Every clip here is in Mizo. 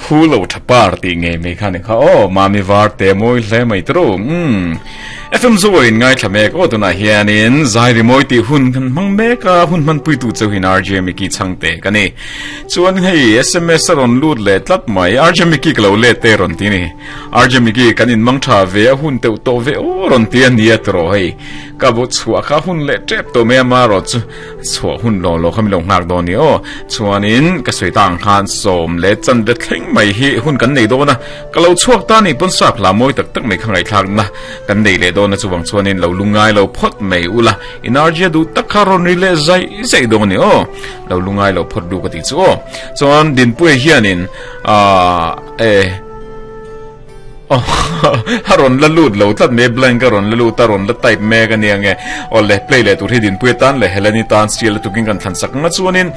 Phu lo tha par tih ngei mai kha ni kha aw Mami var te mawi hle mai tru umm FM Zo in ngaithla mek aw tunah hianin zai rimawi tih hun kan hmang mek a hun hmanpui tu chauhin RJ Mickey chhangte ka ni chuan hei SMS a rawn lut leh tlat mai RJ Mickey ka lo let te rawn ti ni RJ Mickey kan in mang tha ve a hun teuh tawh ve aw rawn ti a nia tiraw hei ka bu chhuah kha hun leh tep tawh mai a marawh chu Chhuah hun lo lo kha min lo nghak dawn ni aw. Chuanin ka sawi ta ang khan sawm leh chan ve thleng mai hi hun kan nei dawn a, ka lo chhuak ta ni pawn sap hla mawi tak tak mai kha ngaihthlakna kan nei leh dawn a chuvang chuanin lo lungai lo phawt mai ula energy a duh tak kha rawn ri leh zai zai dawn ni aw. Lo lungai lo phawt duh ka tih chu aw. Chuan Dinpuia hianin aah eh. A rawn la lut lo tlat mai blank a rawn la lut a rawn la type mek a nia nge aw le play leh tur hi dinpui atan leh Heleni tan sial lutukin kan thlan sak anga chuanin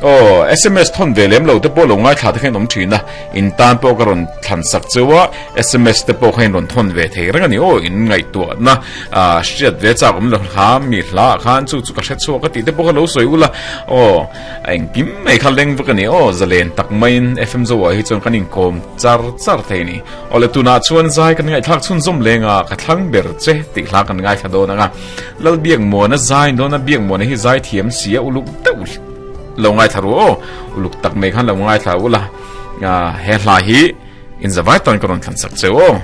aw sms thawn ve lem lo te pawh lo ngaithla te kha in awm thin a in tan pawh ka rawn thlan sak cheu a sms te pawh kha in rawn thawn ve thei reng a ni aw in ngaihtuahna ah hriat ve chak awm lo hla mi hla ah khan chu chu ka hre chhuak a tih te pawh kha lo sawi ula aw A engkim mai kha leng vek a ni aw, zalen tak maiin FM Zoa hi chuan kan inkawm char char thei a ni. Aw le tunah chuan zai kan ngaihthlak chhunzawm leng a, ka thlang ber che tih hla kan ngaithla dawn ang a. Lalbiakmuana zai dawn a, Biakmuana hi zai thiam si a, uluk deuh lo ngaithla ru aw, uluk tak mai khan lo ngaithla ula, he hla hi inzavai tan ka rawn thlan sak che aw.